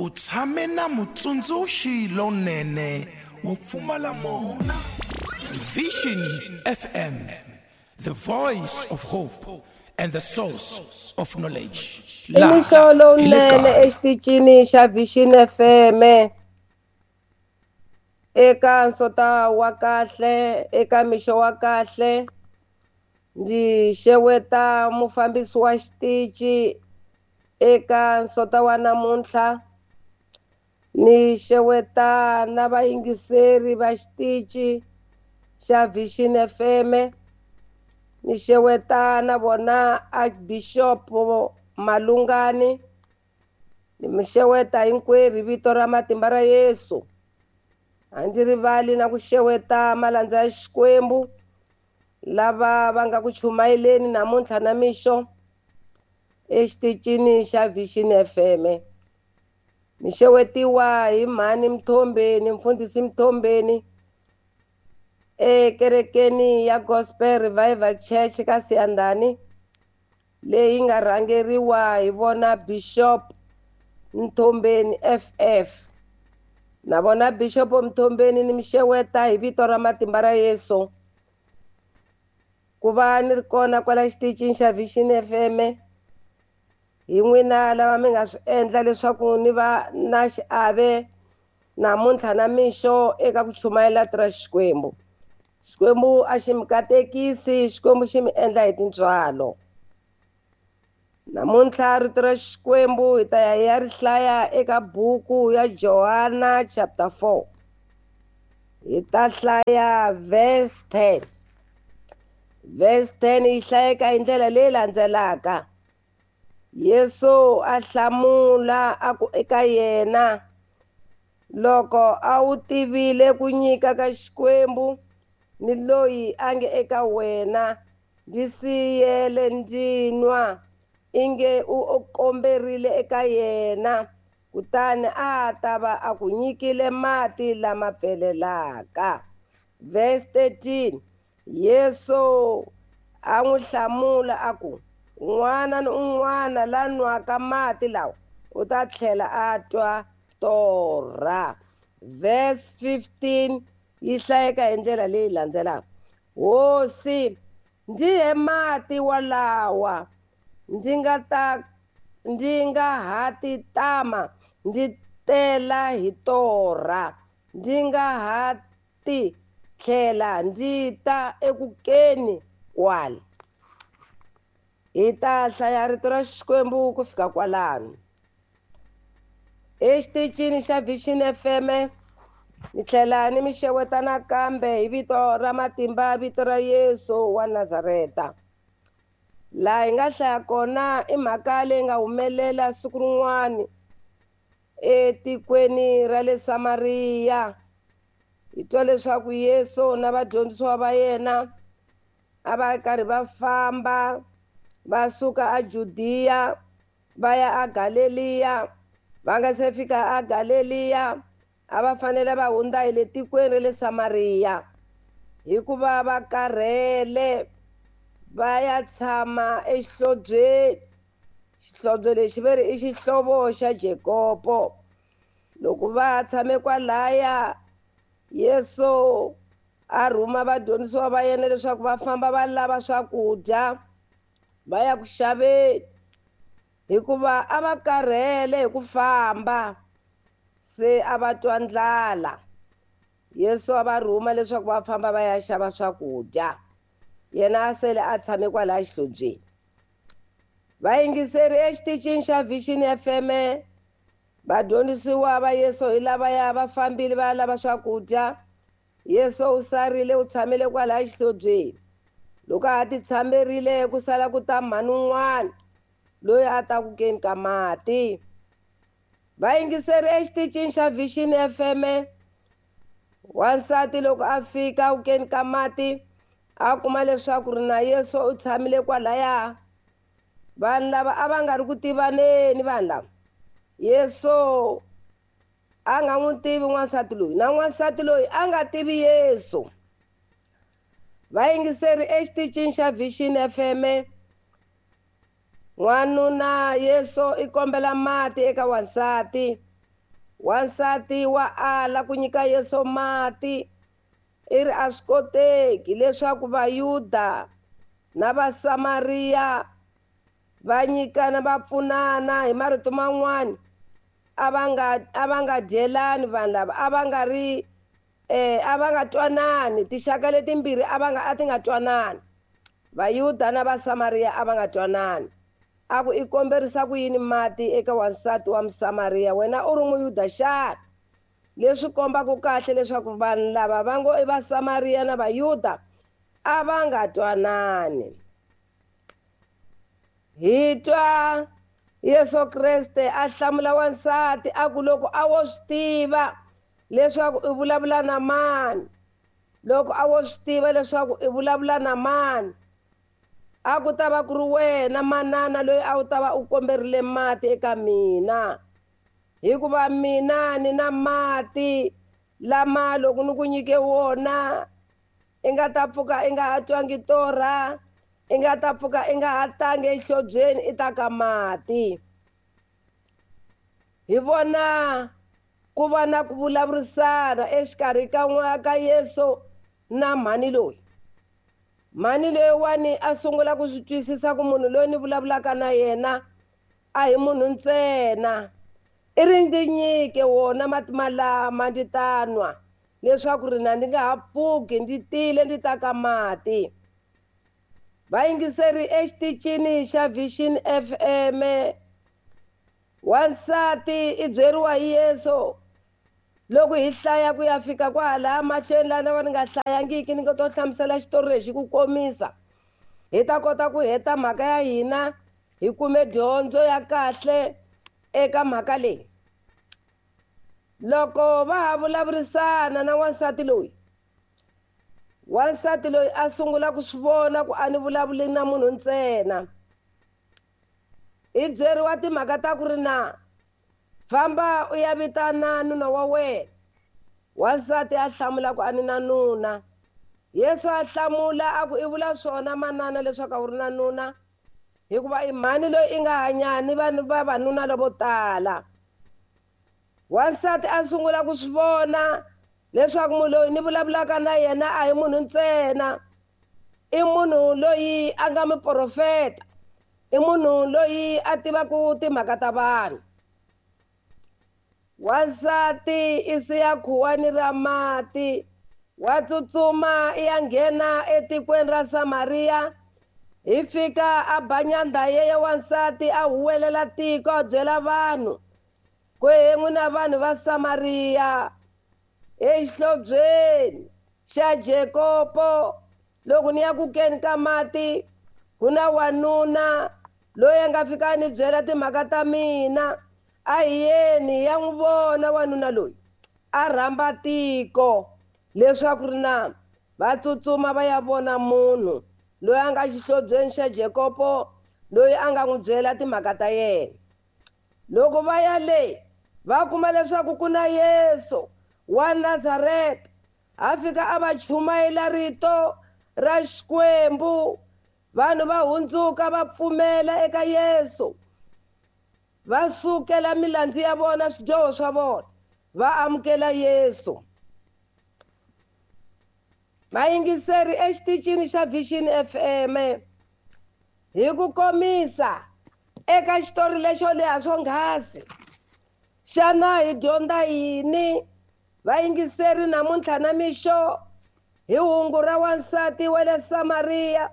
U tshame na mutsundzuxi lonene wo pfumala mona. Vision FM, the voice of hope and the source of knowledge. I mixo lowunene exitichini xa Vision FM eka nsota wa kahle eka mixo wa kahle ndzi xeweta mufambisi wa xitichi eka nsota wa namuntlha ni xeweta na vayingiseri va xitichi xa Vision FM ni xeweta na vona Archbishop Malungani ni mi xeweta hinkwerhu vito ra matimba ra Yesu. A ndzi rivali na ku xeweta malandza ya Xikwembu lava va nga ku chumayeleni namuntlha na mixo exitichini xa Vision FM. Ni xewetiwa hi mhani Mthombeni, mfundhisi Mthombeni ekerekeni ya Gospel Revival Church ka Siyandhani leyi nga rhangeriwa hi vona Bishop Mthombeni FF. Na vona Bishop Mthombeni ni mi xeweta hi vito ra matimba ra Yesu. Ku va ni ri kona kwala xitichini xa Vision FM hi n'wina lava mi nga swi endla leswaku ni va na xiave namuntlha na mixo eka ku chumayela ra Xikwembu. Xikwembu a xi mi katekisi, Xikwembu xi mi endla hi tintswalo. Namuntlha rito ra Xikwembu hi ta ya hi ya ri hlaya eka buku ya Johana chapter 4. Hi ta hlaya verse 10. Verse 10 yi hlayeka hi ndlela leyi landzelaka. Yesu a hlamula a ku eka yena, loko a wu tivile ku nyika ka Xikwembu ni loyi a nge eka wena, ndzi siyele ndzi nwa, inge u komberile eka yena, kutani a ta va a ku nyikile mati lama pfelelaka. Verse 13, Yesu a n'wi hlamula a ku, un'wana ni un'wana la nwaka mati lawa u ta tlhela a twa torha. Verse 15 yi hlayeka hi ndlela leyi landzelaka. Hosi, ndzi he mati walawa ndzi nga ha ti tama ndzi tela hi torha, ndzi nga ha ti tlhela ndzi ta ekukeni kwala. Hi ta hlaya rito ra Xikwembu ku fika kwalano. Exitichini xa Vision FM ni tlhela ni mi xeweta nakambe hi vito ra matimba, vito ra Yesu wa Nazareta. Laha hi nga hlaya kona i mhaka leyi nga humelela siku rin'wana etikweni ra le Samariya. Hi twa leswaku Yesu na vadyondzisiwa va yena a va karhi va famba va suka a Judiya va ya a Galeliya. Va nga se fika a Galeliya a va fanele va hundza hi le tikweni ra le Samariya, hikuva va karhele va ya tshama exihlobyeni. Xihlobo lexi ve ri i xihlovo xa Jakobo. Loko va tshame kwalaya, Yesu a rhuma vadyondzisiwa va yena leswaku va famba va lava swakudya va ya ku xaveni, hikuva a va karhele hi ku famba, se a va twa ndlala. Yesu a va rhuma leswaku va famba va ya xava swakudya, yena a sele a tshame kwalaya xihlobyeni. Vayingiseri exitichini xa Vision FM, vadyondzisiwa va Yesu hi lavaya va fambile va ya lava swakudya. Yesu u sarile u tshamile kwalaya xihlobyeni. Loko a ha ti tshamerile ku sala ku ta mhani un'wana loyi a ta ku keni ka mati. Vayingiseri exitichini xa Vision FM, wansati loko a fika ku keni ka mati a kuma leswaku ri na Yesu u tshamile kwalaya. Vanhu lava a va nga ri ku tivaneni vanhu lava. Yesu a nga n'wi tivi n'wansati loyi, na n'wansati loyi a nga tivi Yesu. Vayingiseri exitichini xa Vision FM, n'wanuna Yesu i kombela mati eka wansati. Wansati wa ala ku nyika Yesu mati, i ri a swi koteki leswaku Vayuda na Vasamariya va nyikana va pfunana. Hi marito man'wani, a va nga dyelani vanhu lava, a va nga ri a va nga twanani. Tinxaka letimbirhi a ti nga twanani, Vayuda na Vasamariya a va nga twanani. A ku i komberisa ku yini mati eka wansati wa Musamariya, wena u ri Muyuda xana? Leswi kombaka kahle leswaku vanhu lava va ngo i Vasamariya na Vayuda a va nga twanani. Hi twa Yesu Kreste a hlamula wansati a ku loko a wo swi tiva leswaku i vulavula na mani, loko a wo swi tiva leswaku i vulavula na mani, a ku ta va ku ri wena manana loyi a wu ta va u komberile mati eka mina, hikuva mina ni na mati lama loko ni ku nyike wona i nga ta pfuka i nga ha twangi torha, i nga ta pfuka i nga ha tangi exihlobyeni i ta ka mati. Hi vona ku va na ku vulavurisana exikarhi ka Yesu na mhani loyi. Mhani loyiwani a sungula ku swi twisisa ku munhu loyi ni vulavulaka na yena a hi munhu ntsena, i ri ndzi nyike wona mati malama ndzi ta nwa leswaku ri na ndzi nga ha pfuki ndzi tile ndzi ta ka mati. Vayingiseri exitichini xa Vision FM, wansati i byeriwa hi Yesu loko hi hlaya ku ya fika kwalaha mahlweni laha ni nga hlayangiki, ni nga to hlamusela xitori lexi ku komisa, hi ta kota ku heta mhaka ya hina, hi kume dyondzo ya kahle eka mhaka leyi. Loko va ha vulavurisana na wansati loyi, wansati loyi a sungula ku swi vona ku a ni vulavuli na munhu ntsena. I byeriwa timhaka ta ku ri na famba u ya vitana nuna wa wena. Wansati a hlamula ku a ni na nuna. Yesu a hlamula a ku i vula swona manana leswaku a wu ri na nuna, hikuva i mhani loyi i nga hanyani vanhu vavanuna lavo tala. Wansati a sungula ku swi vona leswaku munhu loyi ni vulavulaka na yena a hi munhu ntsena, i munhu loyi a nga muprofeta, i munhu loyi a tivaka timhaka ta vanhu. Wansati i siya khuwani ra mati, wa tsutsuma i ya nghena etikweni ra Samariya. Hi fika a ba nyandha yeye wansati a huwelela tiko a byela vanhu ku he n'wina vanhu va Samariya, exihlobyeni xa Jakobo loko ni ya ku keni ka mati ku na wanuna loyi a nga fika a ni byela timhaka ta mina, a hi yeni hi ya n'wi vona wanuna loyi. A rhamba tiko leswaku ri na va tsutsuma va ya vona munhu loyi a nga xihlobyeni xa Jakobo, loyi a nga n'wi byela timhaka ta yena. Loko va ya le va kuma leswaku ku na Yesu wa Nazareta, a fika a va chumayela rito ra Xikwembu, vanhu va hundzuka va pfumela eka Yesu, va sukela milandzu ya vona, swidyoho swa vona, va amukela Yesu. Vayingiseri exitichini xa Vision FM, hi ku komisa eka xitori lexo leha swonghasi, xana hi dyondza yini vayingiseri namuntlha na mixo hi hungu ra wansati wa le Samariya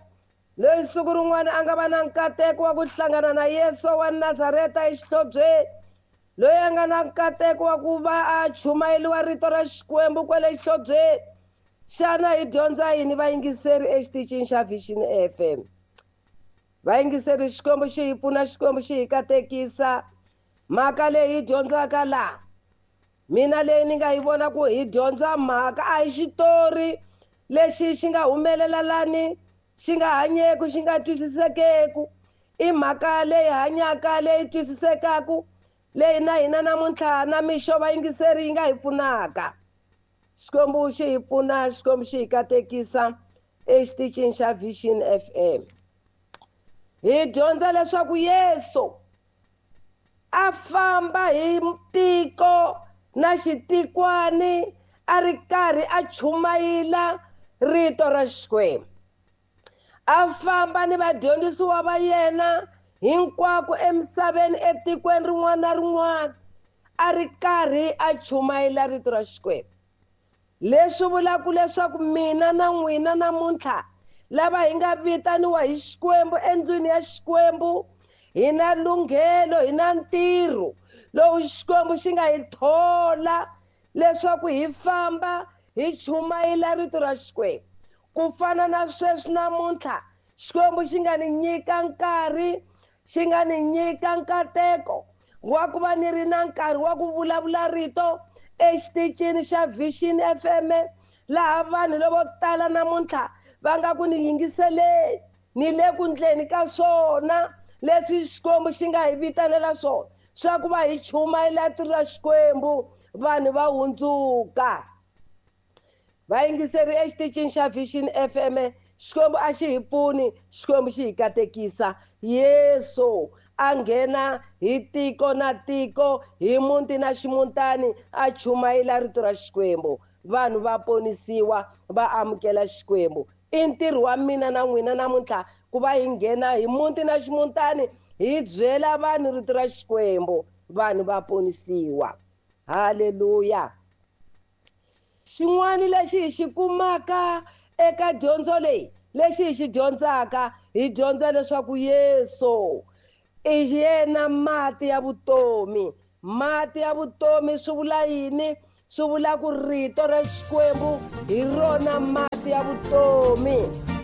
loyi siku rin'wana a nga va na nkateko wa ku hlangana na Yesu wa Nazareta exihlobyeni, loyi a nga na nkateko wa ku va a chumayeriwa rito ra Xikwembu kwale xihlobyeni? Xana hi dyondza yini vayingiseri exitichini xa Vision FM? Vayingiseri, Xikwembu xi hi pfuna, Xikwembu xi hi katekisa. Mhaka leyi hi dyondzaka laha, mina leyi ni nga yi vona ku hi dyondza mhaka a hi xitori lexi xi nga humelela lani, xi nga hanyeku, xi nga twisisekeku. I mhaka leyi hanyaka, leyi twisisekaku, leyi na hina namuntlha na mixo vayingiseri yi nga hi pfunaka. Xikwembu xi hi pfuna, Xikwembu xi hi katekisa exitichini xa Vision FM. Hi dyondza leswaku Yesu a famba hi tiko na xitikwani a ri karhi a chumayela rito ra Xikwembu. A famba ni vadyondzisiwa va yena hinkwako emisaveni, etikweni rin'wana na rin'wana, a ri karhi a chumayela rito ra Xikwembu. Leswi vulaka leswaku mina na n'wina namuntlha lava hi nga vitaniwa hi Xikwembu endlwini ya Xikwembu, hi na lunghelo, hi na ntirho lowu Xikwembu xi nga hi thola leswaku hi famba hi chumayela rito ra Xikwembu. Ku fana na sweswi namuntlha, Xikwembu xi nga ni nyika nkarhi, xi nga ni nyika nkateko wa ku va ni ri na nkarhi wa ku vulavula rito exitichini xa Vision FM, laha vanhu lavo tala namuntlha va nga ku ni yingiseleni, ni le ku ndleni ka swona leswi Xikwembu xi nga hi vitanela swona, swa ku va hi chumayela rito ra Xikwembu, vanhu va hundzuka. Vayingiseri exitichini xa Vision FM, Xikwembu a xi hi pfuni, Xikwembu xi hi katekisa. Yesu a nghena hi tiko na tiko, hi muti na ximutani, a chumayela rito ra Xikwembu. Vanhu va ponisiwa, va amukela Xikwembu. I ntirho wa mina na n'wina namuntlha ku va hi nghena hi muti na ximutani, hi byela vanhu rito ra Xikwembu, vanhu va ponisiwa. Haleluya. Xin'wana lexi hi xi kumaka eka dyondzo leyi, lexi hi xi dyondzaka, hi dyondza leswaku Yesu i yena mati ya vutomi. Mati ya vutomi swi vula yini? Swi vula ku rito ra Xikwembu hi rona mati ya vutomi.